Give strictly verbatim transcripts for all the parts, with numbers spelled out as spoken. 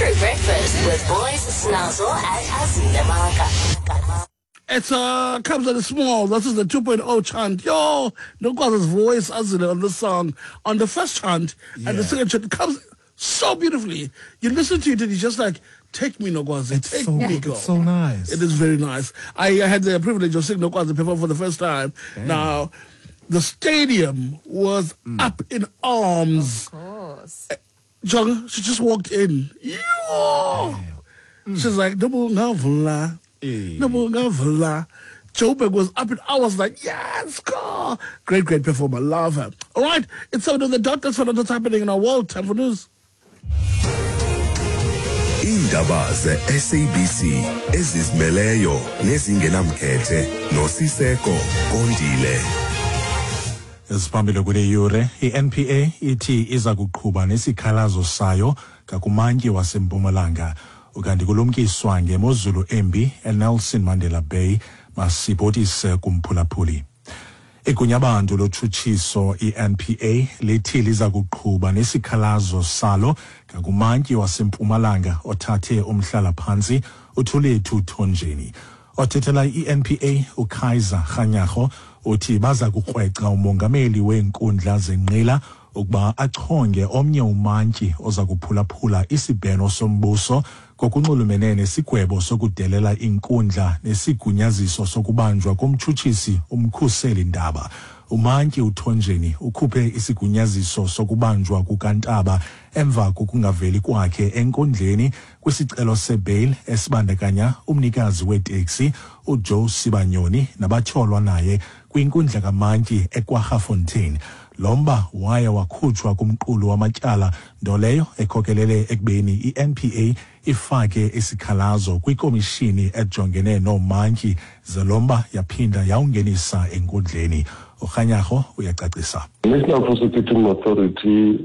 True Breakfast with Boys Snazzle and Azile Maka. It's uh, comes at a small. This is the two point oh chant. Yo, Nokwazi's voice, Azile, on this song, on the first chant, yeah. And the second chant, it comes so beautifully. You listen to it and you're just like, take me, Nokwazi. It's take so, me, girl. It's so nice. It is very nice. I, I had the privilege of seeing Nokwazi perform for the first time. Damn. Now, the stadium was mm. up in arms. Of course. John, she just walked in. Yo! Mm. She's like, Nobungavula. Nobungavula. Joburg was up in I was like, yes, go! Great, great performer. Love her. All right, it's seven on the dot. That's what's happening in our world. Time for news. Indaba ze-S A B C ezizimeleyo nezingenamkhethe noSiseko Kondile. Esiphambili kule yure, i-N P A ithi iza kuqhuba nesikhalazo sayo ngakumantyi waseMpumalanga. Ukanti kulumkiswa ngemozulu embi eNelson Mandela Bay, masibhotise kumphulaphuli. Igunyabantu lotshutshiso i-N P A lithi liza kuqhuba nesikhalazo salo ngakumantyi waseMpumalanga othathe umhlala-phantsi uThulethu Thonjeni. Othethela i-N P A uKaiser Kganyago uthi baza kukrweca umongameli weenkundla zenqila ukuba achonge omnye umantyi oza kuphulaphula isibheno sombuso ngokunxulumene nesigwebo sokudelela inkundla nesigunyaziso sokubanjwa komtshutshisi umkhuseli Ndaba. Umantyi uThonjeni ukhuphe isigunyaziso sokubanjwa kukaNtaba emva kokungaveli kwakhe enkundleni kwisicelo sebail esibandakanya umnikazi weteksi uJoe Sibanyoni nabatyholwa naye kwinkundla kamantyi eKwaggafontein. Lo mba waye wakhutshwa kumqulu wamatyala, nto leyo ekhokelele ekubeni i-N P A ifake isikhalazo kwikomishini ejongene noomantyi ze lo mba yaphinda yawungenisa enkundleni. UKganyago uyacacisa. The National Prosecuting Authority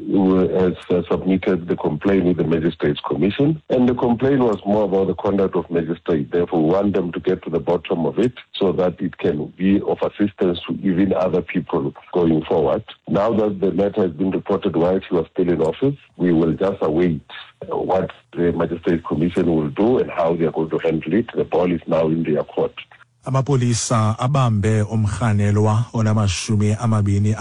has uh, submitted the complaint with the Magistrates Commission, and the complaint was more about the conduct of magistrates. Therefore, we want them to get to the bottom of it so that it can be of assistance to even other people going forward. Now that the matter has been reported while she was still in office, we will just await what the Magistrates Commission will do and how they are going to handle it. The ball is now in their court. Amapolisa abambe umrhanelwa onamashumi amabini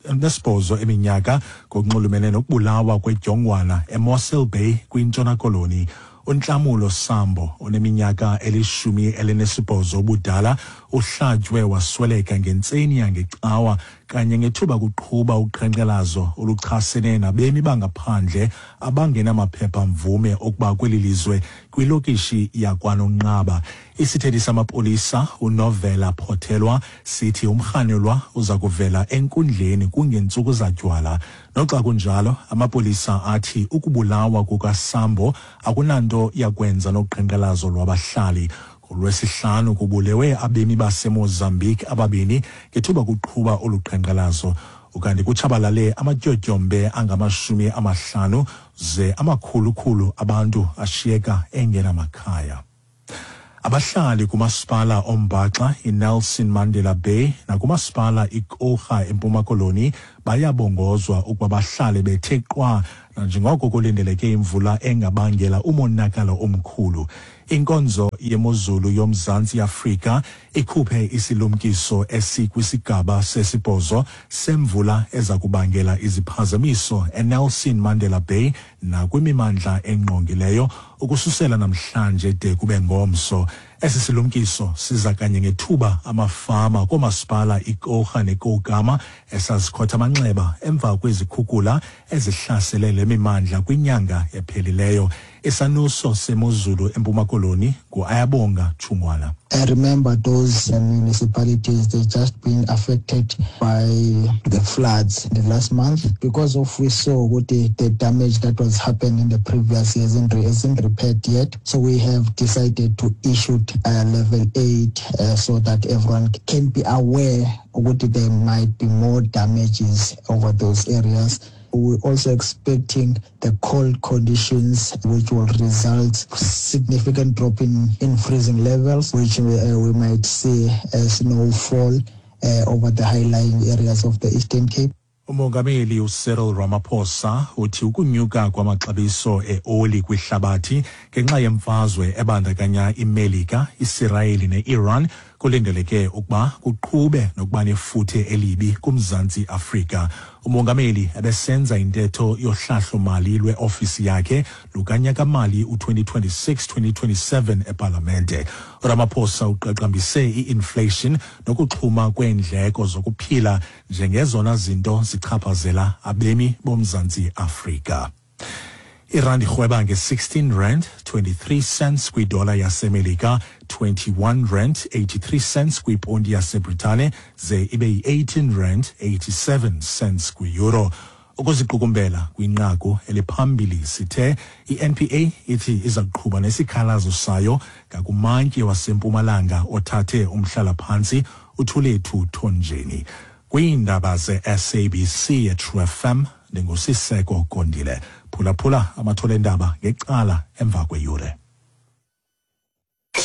anesibhozo eminyaka ngokunxulumene nokubulawa kwedyongwana eMossel Bay kwiNtshona Koloni. uNhlamulo Sambo oneminyaka elishumi elinesibhozo ubudala uhlatywe wasweleka ngentseni yangecawa kanye ngethuba kuqhuba uqhankqalazo oluchasene nabemi bangaphandle abangenamaphepha mvume okuba kweli lizwe kwilokishi yakwaNonqaba. Isithethi samapolisa uNovela Phothelwa sithi umrhanelwa uza kuvela enkundleni kungentsuku zatywala. Noxa kunjalo, amapolisa athi ukubulawa kukaSambo akunanto yakwenza noqhankqalazo lwabahlali. NgolwesiHlanu kubulewe abemi baseMozambique ababini ngethuba kuqhuba olu qhankqalazo. Ukanti kutshabalale amatyotyombe angamashumi amahlanu ze amakhulukhulu abantu ashiyeka engenamakhaya. Abahlali kumasipala ombaxa iNelson Mandela Bay nakumasipala iKorha eMpuma Koloni bayabongozwa ukuba bahlale bethe qwa nanjengoko kulindeleke imvula engabangela umonakalo omkhulu. Inkonzo yemozulu yoMzantsi Afrika ikhuphe isilumkiso esikwisigaba sesibhozo semvula eza kubangela iziphazamiso eNelson Mandela Bay nakwimimandla engqongileyo ukususela namhlanje de kube ngomso. Esi silumkiso siza kanye ngethuba amafama koomasipala iKorha neKoukama esazikhotha amanxeba emva kwezikhukula ezihlasele le mimandla kwinyanga ephelileyo. Isanuso semozulu eMpuma Koloni nguAyabonga Tshungwana. I remember those municipalities, they just been affected by the floods in the last month because of we saw what the, the damage that was happened in the previous years isn't, isn't repaired yet. So we have decided to issue uh, level eight uh, so that everyone can be aware what there might be more damages over those areas. We're also expecting the cold conditions, which will result significant drop in, in freezing levels, which we, uh, we might see a snowfall uh, over the high-lying areas of the Eastern Cape. Umongameli uCyril Ramaphosa uthi ukunyuka kwamaxabiso eoli kwihlabathi ngenxa yemfazwe ebandakanya iMelika, iSirayeli neIran kulindeleke ukuba kuqhube nokuba nefuthe elibi kuMzantsi Afrika. Umongameli ebesenza intetho yohlahlo-mali lweofisi yakhe lukanyaka-mali u-twenty twenty-six twenty twenty-seven epalamente. uRamaphosa uqaqambise i-inflation nokuxhuma kweendleko zokuphila njengezona zinto zichaphazela abemi boMzantsi Afrika. Irandi irhweba nge-sixteen rand twenty-three cents kwidola yaseMelika, twenty-one rand eighty-three cents kwiponti yaseBritane, ze ibe yi-eighteen rand eighty-seven cents kwi-euro. Ukuziqukumbela kwinqaku eliphambili sithe i-N P A ithi iza kuqhuba nesikhalazo sayo ngakumantyi waseMpumalanga othathe umhlalaphantsi uThulethu Thonjeni. Kwiindaba ze-S A B C eTrue F M, ndinguSiseko Kondile. Phulaphula amathole endaba ngecala emva kweyure.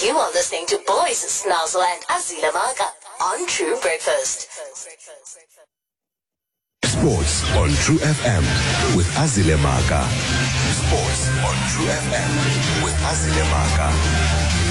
You are listening to Boys Snozzle and Azile Maka on True Breakfast. Sports on True F M with Azile Maka. Sports on True F M with Azile Maka.